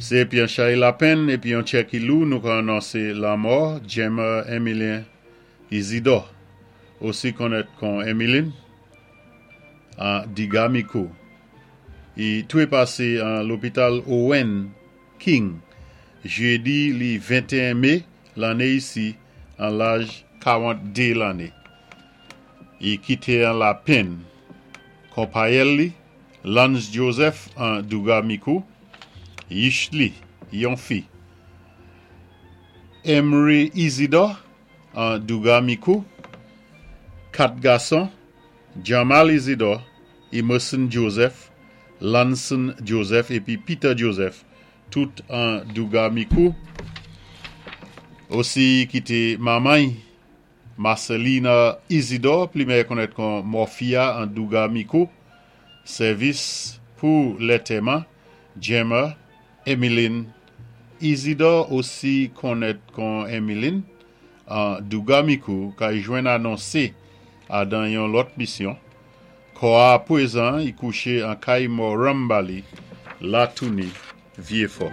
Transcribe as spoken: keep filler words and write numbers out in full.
Sé épi an chay lapenn épi yon tchè ki lou nou ka anonsé lanmò Gemma Emilien Isidore, osi konnèt kon Emmeline, an Digamikou. I touwé pasé an lopital Owen King, jédi li venteyen mé lanné isi an laj kawanntdé lanné. I kité an lapenn. Konpayèl li, Lance Joseph an Douga-Mikou, Yishli, yon fi. Emery Isidore an Douga-Mikou, kat gason, Jamal Isidore, Emerson Joseph, Lanson Joseph épi Peter Joseph, tout an Douga-Mikou. Osi kité manman Marcelina Isidore, pli mèyè konnèt kon Morphia an Douga-Mikou, sèvis pou lantèman, Gemma, Emmeline Isidore osi konnèt kon Emmeline an Douga-Mikou, ka jwenn anonsé adan yon lòt misyon. Kò a pwézan i kouché an kay Morambali, Latouni, Vyéfò.